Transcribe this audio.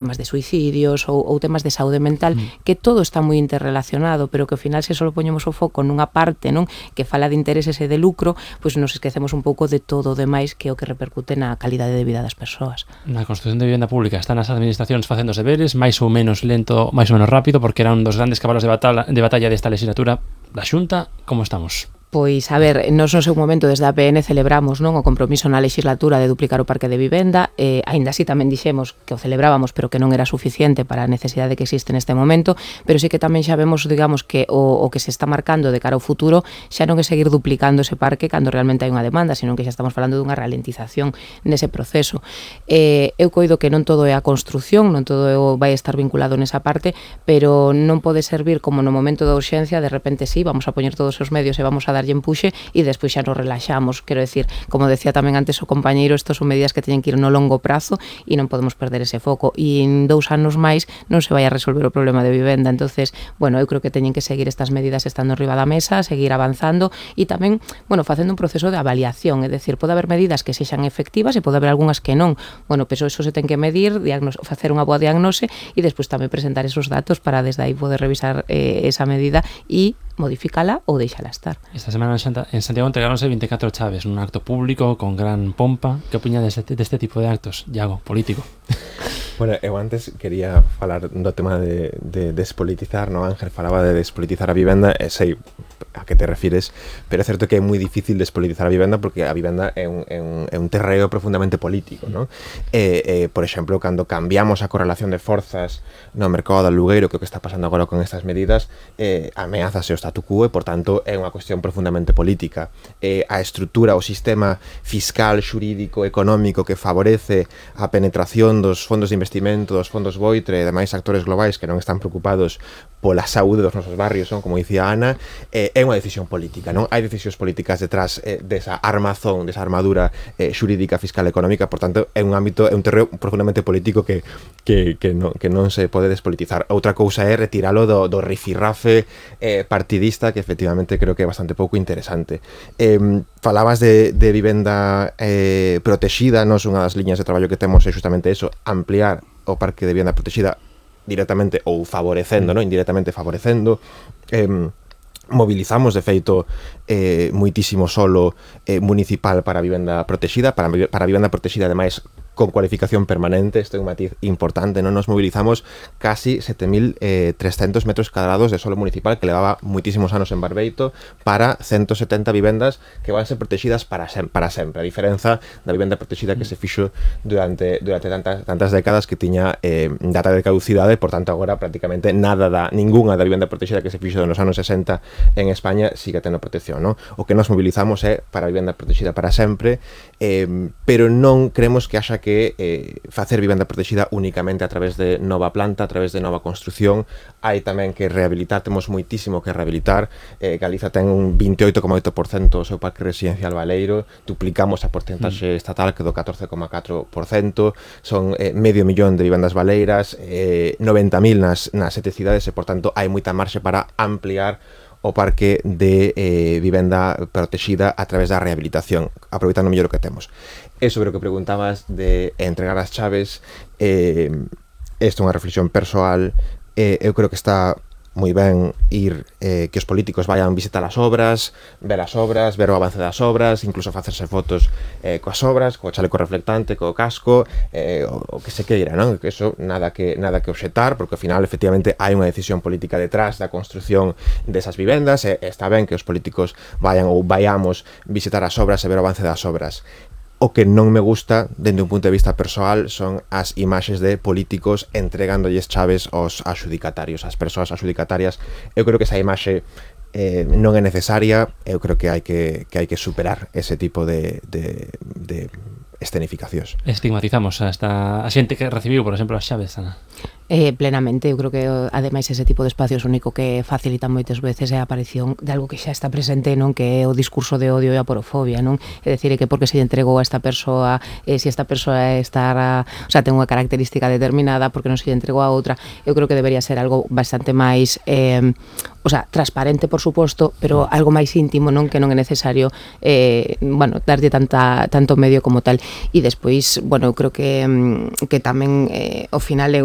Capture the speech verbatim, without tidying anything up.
temas de suicidios ou, ou temas de saúde mental, mm. que todo está moi interrelacionado, pero que ao final se só poñemos o foco nunha parte, non, que fala de intereses e de lucro, pois nos esquecemos un pouco de todo o demais que é o que repercute na calidade de vida das persoas. Na construción de vivenda pública están as administracións facendo os deberes, máis ou menos lento, máis ou menos rápido, porque era un dos grandes cabalos de batalla, de batalla desta legislatura da Xunta. Como estamos? Pois, a ver, nos no seu momento desde a P N celebramos, non, o compromiso na legislatura de duplicar o parque de vivenda, eh, aínda así tamén dixemos que o celebrábamos, pero que non era suficiente para a necesidade que existe neste momento, pero sí que tamén xa vemos, digamos, que o, o que se está marcando de cara ao futuro xa non é seguir duplicando ese parque cando realmente hai unha demanda, sino que xa estamos falando dunha ralentización nese proceso. Eh, eu coido que non todo é a construción, non todo vai estar vinculado nesa parte, pero non pode servir como no momento da urxencia, de repente sí, vamos a poñer todos os medios e vamos a darlle empuxe e despois xa nos relaxamos. Quero decir, como decía tamén antes o compañeiro, estos son medidas que teñen que ir no longo prazo e non podemos perder ese foco, e en dous anos máis non se vai a resolver o problema de vivenda. Entonces, bueno, eu creo que teñen que seguir estas medidas estando arriba da mesa, seguir avanzando e tamén, bueno, facendo un proceso de avaliación, é dicir, pode haber medidas que sexan efectivas e pode haber algunhas que non. Bueno, pero eso se ten que medir, diagnos, facer unha boa diagnose e despois tamén presentar esos datos para desde aí poder revisar eh, esa medida e modificala ou deixala estar. Esta semana en Santiago entregáronse vinte e catro chaves nun acto público con gran pompa. Que opiña deste, deste tipo de actos, Iago, político? Bueno, eu antes quería falar do tema de, de despolitizar, no? Ángel falaba de despolitizar a vivenda, e sei a que te refires, pero é certo que é moi difícil despolitizar a vivenda porque a vivenda é un, é un, é un terreo profundamente político, no? E, e, por exemplo, cando cambiamos a correlación de forzas no mercado do alugueiro, que é o que está pasando agora con estas medidas, eh, ameazase o statu quo e, por tanto, é unha cuestión profundamente política. Eh, a estrutura, o sistema fiscal, xurídico, económico que favorece a penetración dos fondos de investimento, dos fondos Boitre e demais actores globais que non están preocupados pola saúde dos nosos barrios, son, como dicía Ana, eh, é unha decisión política, non? Hai decisións políticas detrás eh, desa armazón, desa armadura eh, xurídica, fiscal e económica, por tanto, é un ámbito, é un terreo profundamente político que, que, que, non, que non se pode despolitizar. Outra cousa é retiralo do, do rifirrafe eh, partidista, que efectivamente creo que é bastante pouco interesante. Eh, falabas de, de vivenda eh, protexida, nos unha das liñas de traballo que temos é justamente eso, ampliar o parque de vivenda protexida directamente ou favorecendo, non? Indirectamente favorecendo. Eh, mobilizamos, de feito, eh, moitísimo solo eh, municipal para a vivenda protexida, para, para a vivenda protexida, ademais, con cualificación permanente. Este é un matiz importante, non? Nos mobilizamos casi sete mil trescentos metros cadrados de solo municipal que levaba moitísimos anos en Barbeito para ciento setenta vivendas que van ser protegidas para, sem para sempre, a diferenza da vivenda protexida que se fixo durante, durante tantas, tantas décadas que tiña eh, data de caducidade, por tanto agora prácticamente nada da, ninguna da vivenda protexida que se fixo nos anos sesenta en España sigue tendo protección, non? O que nos mobilizamos é para a vivenda protexida para sempre, eh, pero non creemos que haxa que eh, facer vivenda protexida únicamente a través de nova planta, a través de nova construción. Hai tamén que rehabilitar, temos moitísimo que rehabilitar. eh, Galiza ten un veintioito coma oito por cento o seu parque residencial baleiro, duplicamos a porcentaxe estatal que do catorce coma catro por cento, son eh, medio millón de vivendas baleiras, eh, noventa mil nas, nas sete cidades, e por tanto hai moita marxe para ampliar o parque de eh, vivenda protexida a través da rehabilitación, aproveitando mellor o que temos. E sobre o que preguntabas de entregar as chaves, eh, esta é unha reflexión persoal. eh, eu creo que está moi ben ir, eh, que os políticos vayan visitar as obras, ver as obras, ver o avance das obras, incluso facerse fotos eh, coas obras, co chaleco reflectante, co casco, eh, o, o que se queira, non? Que eso nada que nada que obxetar, porque ao final efectivamente hai unha decisión política detrás da construción desas vivendas, e está ben que os políticos vayan ou vayamos visitar as obras e ver o avance das obras. O que non me gusta, dende un punto de vista persoal, son as imaxes de políticos entregándolles chaves aos adxudicatarios, ás persoas adxudicatarias. Eu creo que esa imaxe eh, non é necesaria. Eu creo que hai que, que, hai que superar ese tipo de, de, de escenificacións. Estigmatizamos hasta a xente que recibiu, por exemplo, as chaves, Ana. Eh, plenamente, eu creo que ademais ese tipo de espacios único que facilitan moitas veces é a aparición de algo que xa está presente, non, que é o discurso de odio e a porofobia, non? É dicir, que porque se lle entregou a esta persoa, eh, se esta persoa está, a, o sea, ten unha característica determinada, porque non se lle entregou a outra. Eu creo que debería ser algo bastante máis eh, o sea, transparente, por suposto, pero algo máis íntimo, non, que non é necesario eh, bueno, darlle tanta, tanto medio como tal. e despois, bueno, eu creo que, que tamén eh, ao final é